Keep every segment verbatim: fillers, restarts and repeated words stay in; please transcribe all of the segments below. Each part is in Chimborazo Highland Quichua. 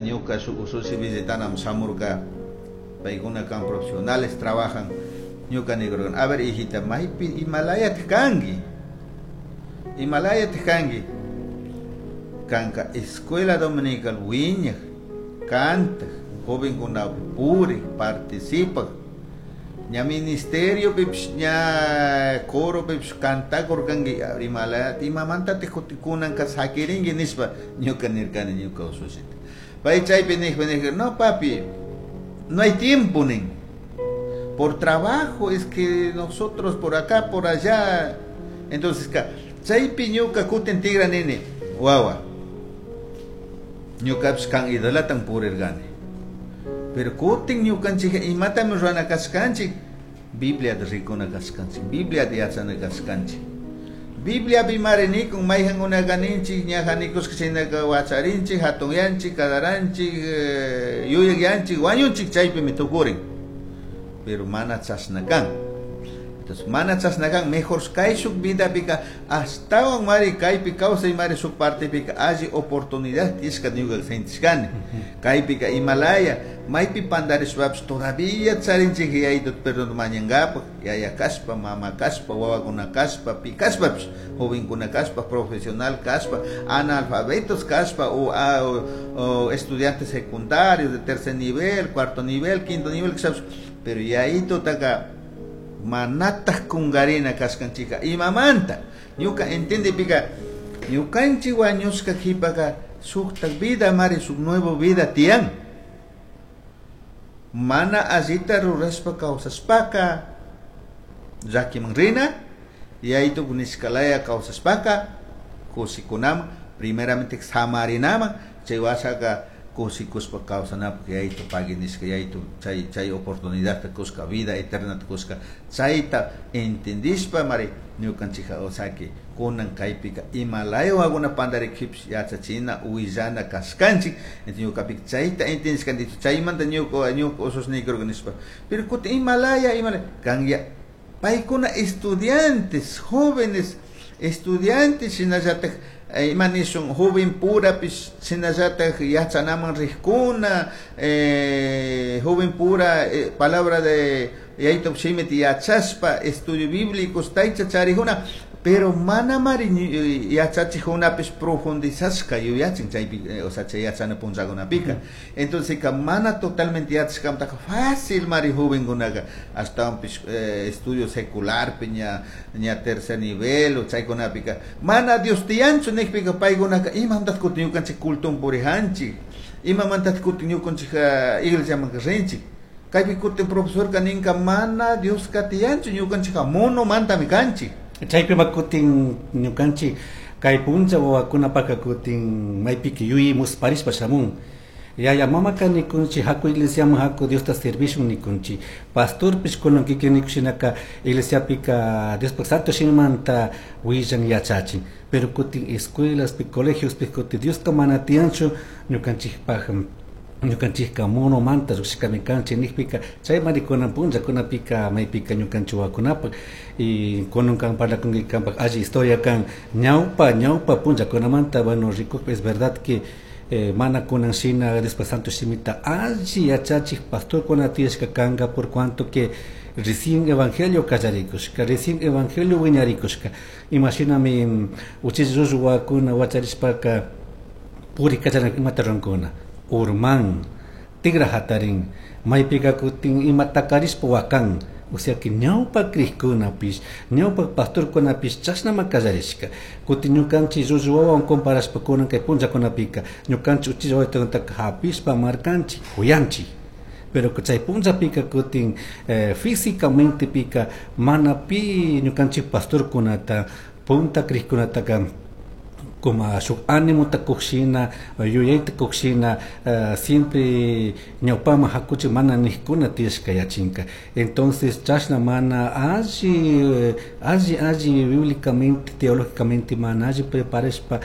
Ñuka shuk usushi visitanam shamurka, paykuna kan profesionales trabajan. Ñuka nirkani: "A ver, hijita, maypi imalayataq kanki? Imalayataq kanki? Kanka escuela dominical wiñaq, cantaq, jovenkunapi purik, participaq, ña ministerio pipish, ña coro pipish cantakurkanki. Imalaya imamantatik kunanka sakirinki?" nishpa ñuka nirkani ñuka usushita. Pay chaypi nijpa nijka: "No, papi, no hay tiempo", nin. "Por trabajo es que nosotros por acá, por allá". Entonces ka chaypi ñuka kutin tigra nini: "Wawa, ñukapish kan idolatan purirkani, pero kutin ñukanchik imatami rurana kashkanchik? Bibliata rikuna kashkanchik, Bibliata yachana kashkanchik. Bibliapi mari nikun mayjankunaka ninchik ñaja nikushka shinaka wacharinchik, hatunyanchik, kadaranchik, yuyakyanchik, wañunchik, chaypimi tukurin. Pero mana chashna kan. Entonces mana chashna kan. Mejor kayshuk vidapika ashtawan mari kaypi kawsay mari shuk partepika alli oportunidad tiyashka ñuka sentishkani. Kaypika imalaya maypi pandarishpapish todavía charinchik yayito perdón mañankapak, yaya kashpa, mama kashpa, wawakuna kashpa, pi kashpapish, jovenkuna kashpa, profesional kashpa, analfabetos kashpa o, o, o estudiantes secundarios de tercer nivel, cuarto nivel, quinto nivel kashpapish, pero yayitotaka manataj kungarina kashkanchika. Imamanta ñuka entendipika ñukanchik wañushka kipaka shuktak vida mari, shuk nuevo vida tiyan. Mana allita rurashpa kawsashpaka llakiman rina, yayito nishkalaya kawsashpaka kushikunaman, primeramente samarinaman, chay washaka kushikushpa kawsanapuk yayito pagui nishka, yayito chay chay oportunidadta kushka, vida eternata kushka. Chayta entendishpa mari ñukanchika osaki kunan kaypika imalaya wawakuna pandarikpipish yachachina, willana kashkanchik. Entonces ñukapika chayta entendishkani. Chaymanta ñuka ñuka usushnikurka nishpa. Pero kutin imalaya imalaya kanya paykuna estudiantes, jóvenes estudiantes, shinallatak ima nishun joven purapish, shinallatak yachanaman rijkuna, eh, joven pura eh, palabra de yayito shimita yachashpa estudio bíblicos taycha charijuna, pero mana mari yachachijkunapish profundizashka yuyachin chaypi, o sea, chay yachana punllakunapika. Entonces ka mana totalmente yachashkamantaka fácil mari jovenkunaka ashtawanpish eh, estudio secularpi ña ña tercer nivel o chaykunapika mana Dios tiyanchu nikpika paykunaka imamantatak kutin ñukanchik cultoman purijanchik? Imamantatak kutin ñukanchik iglesiamanka rinchik? Kaypi kutin profesorka ninka mana Dioska tiyanchu, ñukanchikka monomantami kanchik". Chaypima kutin ñukanchik kay punlla wawakunapaka kutin maypika yuyi musparishpa shamun. Yaya mamaka nikunchik: "Haku iglesiaman, haku Diosta servishun", nikunchik. Pastorpish kunan kikin nikushinaka iglesiapika Diospak santo shimimanta willan, yachachin, pero kutin escuelaspi, colegiospi kutin Dioska mana tiyanchu, ñukanchikpak ñukanchikka monomanta llukshikami kanchik nikpika, chaymari kunan punllakunapika maypika ñukanchik wawakunapak. Y kunan kan parlakunki, kanpak alli historia kan ñawpa ñawpa punllakunamanta. Bueno, rikukpi es verdad que eh, mana kunan shina Diospak santo shimita alli yachachik pastorkuna tiyashka kanka, por cuanto que recién evangelio kallarikushka, recién evangelio wiñarikushka. Imashinami uchilla llullu wawakuna wacharishpaka puri kallaran, imata rurankuna? Urman, tigra hatarin, maypika kutin ima takarishpa wakan. O sea que ñawpa krikkunapish, ñawpa pastorkunapish chashnama kallarishka. Kutin ñukanchik llullu wawawan comparashpa kunan kay punllakunapika ñukanchik uchilla wawitaka hapishpa markanchik, kuyanchik, pero chay punllapika kutin eh, físicamente pika mana pi ñukanchik pastorkunata, punta krikkunataka como shuk ánimota kukshina, yuyayta kukshina, uh, siempre ñawpaman hakuchik mana nijkuna tiyashka yachinka. Entonces chashna mana alli alli alli bíblicamente, teológicamente mana alli preparashpa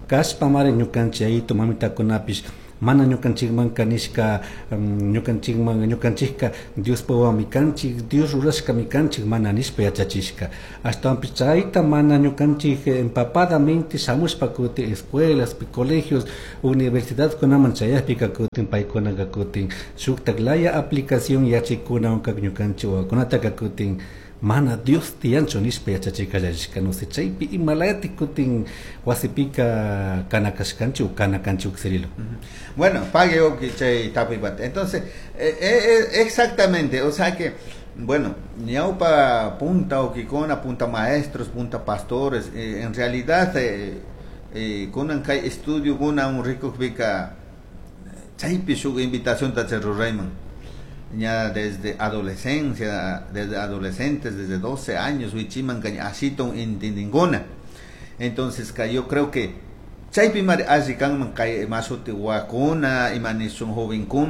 kashpa mari ñukanchik yayito mamitakunapish Mana ñukanchikmanka nishka ñukanchikman ñukanchikka Diospa wawami kanchik, Dios rurashkami kanchik mana nishpa yachachishka. Ashtawanpish chayta mana ñukanchik empapadamente shamushpa kutin escuelas, colegios, universidadkunaman chayakpika kutin paykunaka kutin shuktak laya aplicación yachaykunawanka ñukanchik wawakunataka kutin mana Dios tiyanchu nishpa yachachi kallarishka. No sé, chaypi imalayatik kutin wasipika kana kashkanchik o kana kanchik Cirilo. Bueno, pague chay tapuypata. Entonces, eh, eh, exactamente, o sea que bueno, ñaupa punta uquicuna, punta maestros, punta pastores, eh, en realidad eh, eh, kunan kay estudio kuna rikukpika chaypi shuk invitación ta rurayman ya desde adolescencia, desde adolescentes, desde doce años, wichiman asitun intindinkuna. Entonces, yo creo que chaypi mari alli kanman kay mashuti wakuna, ima nishun jovenkuna.